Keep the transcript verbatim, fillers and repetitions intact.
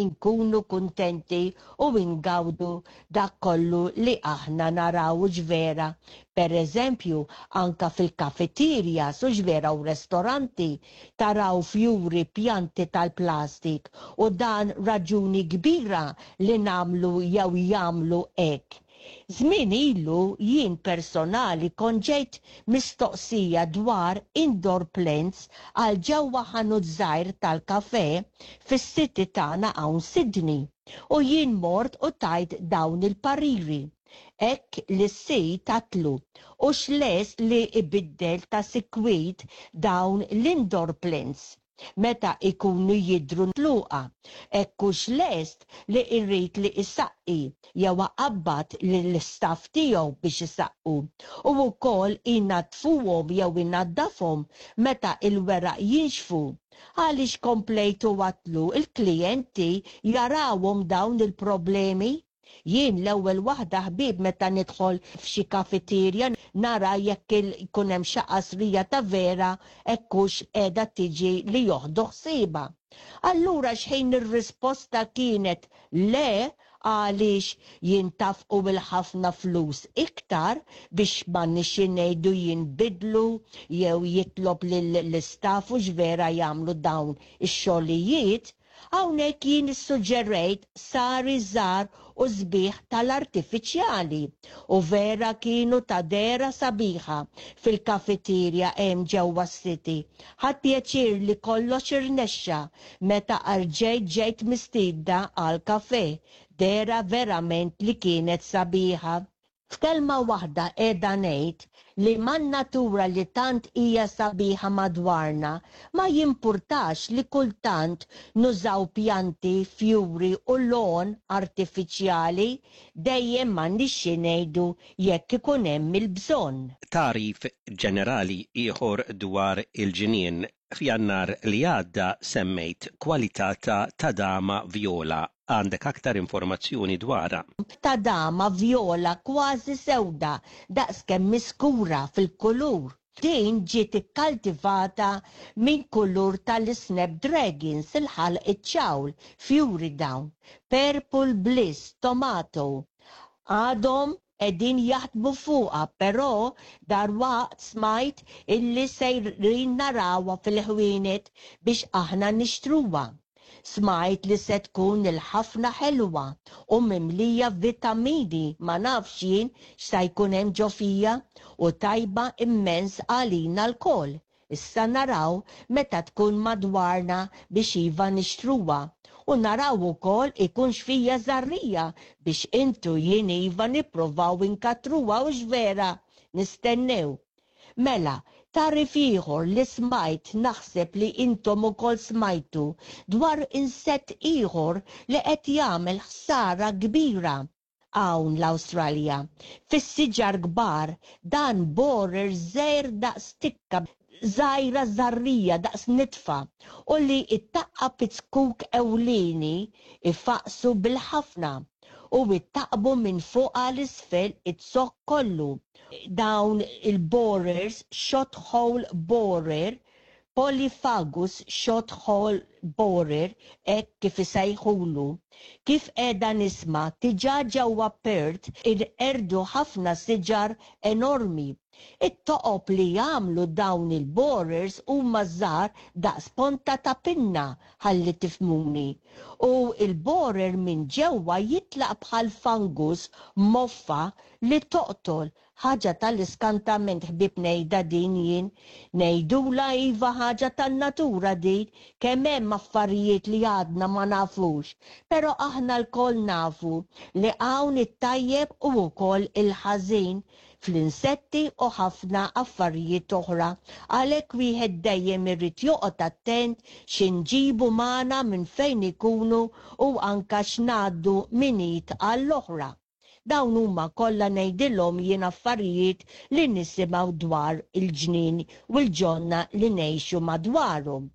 Inkunu kuntenti u ingawdu dak kollu li aħna naraw, vera. Per eżempju, anka fil-kafeterja, hux vera, u restoranti taraw fjuri, pjanti tal-plastik, u dan raġuni kbira li nagħmlu jew jagħmlu hekk. Żmien ilu jien personali kont ġejt mistoqsija dwar indoor plants għal ġewwa ħanut żgħir tal-kafe fis-city tagħna hawn Sydney. U jien mort u tajt dawn il-pariri. Hekk li s-sid għedtlu hux lest li ibiddel ta' sikwit dawn l-indoor plants meta ikunu jidru tluqa. Jekk hux lest li irrid li isaqqi jew iqabbad l-istaff tiegħu biex isaqqu. U wkoll inaddfuhom jew inaddafhom meta il-weraq jinxfu. Għaliex, komplejtu għedtlu, il-klijenti jarawhom dawn il-problemi. Jien l-ewwel waħda, ħbieb, meta nidħol f'xi kafeterja nara jekk ikun hemm xi qasrija ta' vera, jekk hux qiegħda tiġi li joħdu ħsiebha. Allura xħin ir-risposta kienet le, għaliex jintafqu bil-ħafna flus iktar biex ma nixi ngħidu jinbidlu jew jitlob lill-istaff u vera jagħmlu dawn ix-xogħlijiet. Hawnhekk jien issuġġerejt sari żgħar u sbieħ tal-artifiċjali u vera kienu ta' dehra sabiħa fil-kafeterja hemm ġewwa s-city. Ħadt pjaċir li kollox irnexxa. Meta erġajt ġejt mistiedna għal kafe, dehra verament li kienet sabiħa. F'kelma waħda qiegħda ngħid li man-natura li tant hija sabiħa madwarna ma jimpurtax li kultant nużaw pjanti, fjuri u lawn artifiċjali, dejjem ma nixxi ngħidu jekk ikun hemm il-bżonn. Tagħrif ġenerali ieħor dwar il-ġinien. F'Jannar li għadda semmejt kwalità ta' tadama vjola. Għandek aktar informazzjoni dwarha? Tadama vjola kważi sewda, daqskemm miskura fil-kulur. Din ġiet ikkaltivata minn kulur tal-snapdragons, il-ħalq iċ-ċawl, fjuri dawn. Purple Bliss Tomato. Għadhom qegħdin jaħdmu fuqha, però darwaqt smajt illi sejrin narawha fil-ħwienet biex aħna nixtruha. Smajt li se tkun il-ħafna ħelwa u mimlija vitamini, ma nafx jien x'sa jkun hemm ġo fija, u tajba immens għalina lkoll. Issa naraw meta tkun madwarna biex iva nixtruha u naraw ukoll ikunx fija żarrija biex intu jien iva nipprovaw inkattruha, hux vera, nistennew. Mela, tagħrif ieħor li smajt, naħseb li intom ukoll smajtu dwar insett ieħor li qed jagħmel ħsara kbira hawn l-Awstralja. Fis-siġar kbar, dan borer żgħir daqs tikka żgħira, żarrija daqs nitfa, u li ittaqqab iz-zkuk ewlieni, ifaqsu bil-ħafna u ittaqbu minn fuq għal isfel iz-zokk kollu. Dawn il-borers, shot hole borer, Polyphagus shot hole borer, hekk kif isejħulu. Kif qiegħda nisma', diġà ġewwa Perth inqerdu ħafna siġar enormi. It-toqob li jagħmlu dawn il-borers huma żgħar daqs ponta ta' pinna, ħalli tifhmuni. U il-borer minn ġewwa jitlaq bħal fungus, moffa li toqtol. Ħaġa tal-iskantament, ħbieb, ngħidha din jien. Ngħidula iva ħaġa tan-natura din, kemm hemm affarijiet li għadna ma nafux. Però aħna lkoll nafu li hawn it-tajjeb u wkoll il-ħażin fl-insetti u ħafna affarijiet oħra. Għalhekk wieħed dejjem irid joqgħod attent x'inġibu magħna minn fejn ikunu u anka x'ngħaddu minn id għall-oħra. Dawn huma kollha, ngħidilhom jien, affarijiet li nisimgħu dwar il-ġnien u l-ġonna li ngħixu madwarhom.